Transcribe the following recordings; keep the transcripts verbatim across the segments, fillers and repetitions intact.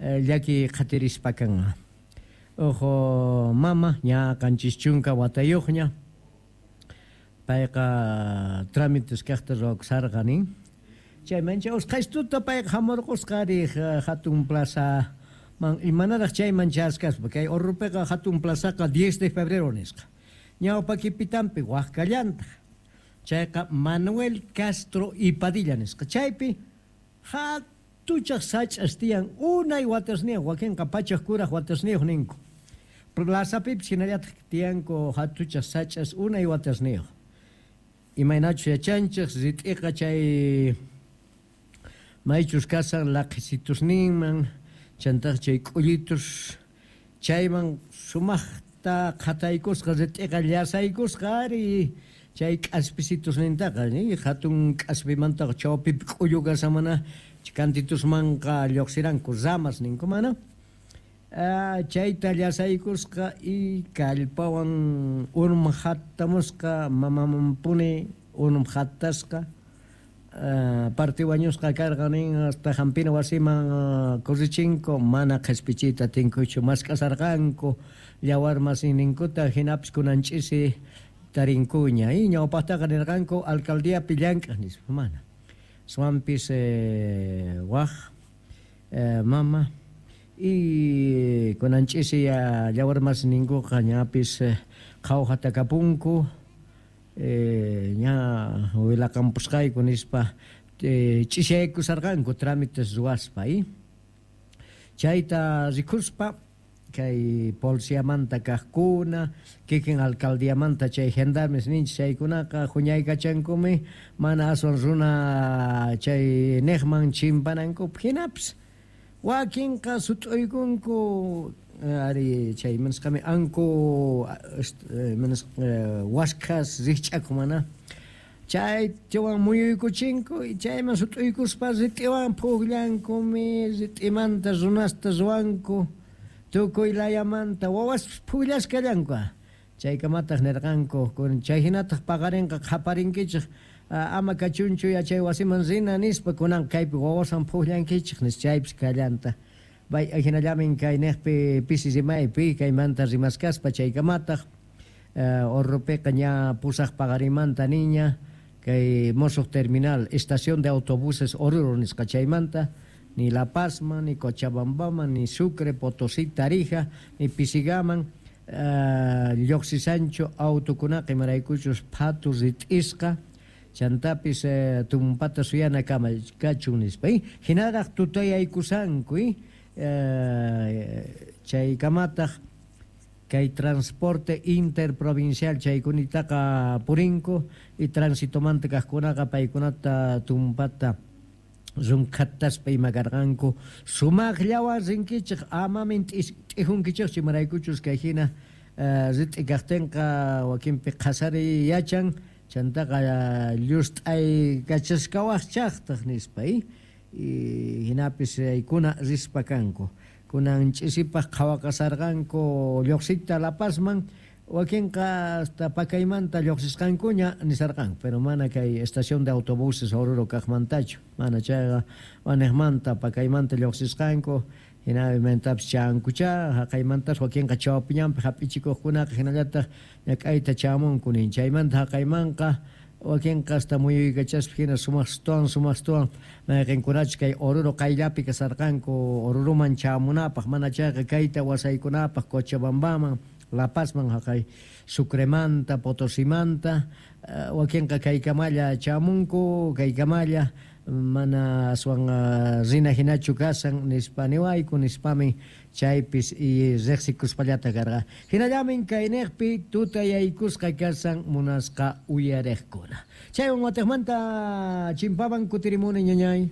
llaki qhatirispa kan. Ojo mama ña qanchis chunka watayuqña payqa trámites kaqta ruwakusarqa nin. Chayman chay usqhaystuta payqa hamurqusqa riq hatun plaza man imanaraq chayman chaskaspa kay Oruropiqa hatun plazaqa diez de febrero nisqa. Ñawpakipitanpi waqkallantaq. Chayqa Manuel Castro y Padilla nisqa. Chaypi hatuchaq sach'as tiyan unay watasniyuq wakinqa pachaq kuraq watasniyuq ninku. Plazapipis hinallataq tiyanku hatuchaq sach'as unay watasniyuq. Imaynachus yachanchik rit'iqa chay maychus kasan laqhisitusninman chantaq chay k'ullitus chayman sumaqta qhataykusqa rit'iqa llasaykusqa ari chay k'aspisitusnintaqa ni hatun k'aspimantaqa chawpipi k'ullu kasamana kantitusmanqa lluqsiranku ramas ninku mana chayta llasaykusqa y kallpawan unum hattamusqa mamamanpuni unum hattasqa parte wañusqa karqa nin hasta hampina wasiman corrichinku mana qhispichiyta atinkuchu mask'asarqanku yawar masinninkuta hinapis kunan ch'isi tarinkuña y ñawpaqtaqa nirqanku alcaldiapi llank'aq nispa mana swampis eh, waj eh, mama y kunan ch'isi yawar masinninkuqa ñapis qhawjata kapunku Eh, ña willakampusqayku nispa eh, ch'isiyaykusarqanku trámites ruwaspa y chayta rikuspa kay policiamanta kaqkuna kikin alcaldiamanta chay gendarmes ninchik chaykunaqa huñaykachankumi mana aswan runa chay niqman chimpanankupaq hinapis wakinqa sut'uykunku ari chay manisqami anku manis waskhas rikch'aku mana chay chawan muyuykuchinku y chayman sut'uykuspa rit'iwan pukllankumi rit'imanta runasta ruwanku tukuy layamanta wawas pukllasqallanku chaykamataq nirqanku chay hinataq paqarinqa qhaparinkichik ama kachunchu yachay wasiman rina nispa kunan kaypi wawasan pukllankichik nis chaypis kallanta. Bay hinallamin kay niqpi pisi rimaypi kaymanta rimaskaspa chaykamataq Oruropiqa ña pusaq paqarimanta niña kay musuq terminal estación de autobuses Oruro nisqa chaymanta ni La Pazman, ni Cochabambaman, ni Sucre, Potosí, Tarija, ni Pisigaman uh, lluqsisanchu autokunaqa imaraykuchus phatu rit'isqa chantapis eh, tumpata suyana kama kachun nispa hinaraq tutayaykusanku eh, chaykamataq kay transporte interprovincial chaykunitaqa purinku y transitomanta kaqkunaqa paykunata tumpata runkhataspa ima karqanku sumaqllawan rinkichik amamin t'ijunkichikchu imaraykuchus kay hina rit'i kaqtinqa wakinpi qhasariy yachan chantaqa llust'ay kachasqawaqchaqtaq nispa y hinapis chaykuna rispa kanku kunan ch'isipaq qhawaqasarqanku lluqsiyta La Pazman wakinqa hasta pakaymanta lluqsisqankuña nisarqanku pero mana kay estación de autobuses Oruro kaqmantachu mana chayqa waniqmanta pakaymanta lluqsisqanku hinamantapis chankucha haqaymantas wakinqa chawpiñanpi hap'ichikuqkunaqa hinallataq ñak'ayta chamunku nin chaymanta haqaymanqa wakinqa hasta muyuykachaspa hina sumaqstuwan sumaqstuwan mayqinkunachus kay Oruro qayllapi kasarqanku Oruroman chamunapaq mana chayqa kayta wasaykunapaq Cochabambaman La Pazman haqay Sucremanta Potosimanta wakinqa kaykamalla chamunku kaykamalla mana aswan rina hinachu kasan nispa niwayku nispami chaypis y riqsikuspallata karqa hinallamin kayniqpi tutayaykusqa kasan munasqa uyariqkuna chaywan watiqmanta chimpaman kutirimuni ñañay.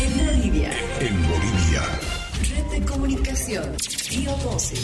En Bolivia. En Bolivia. Red de comunicación. Río doce.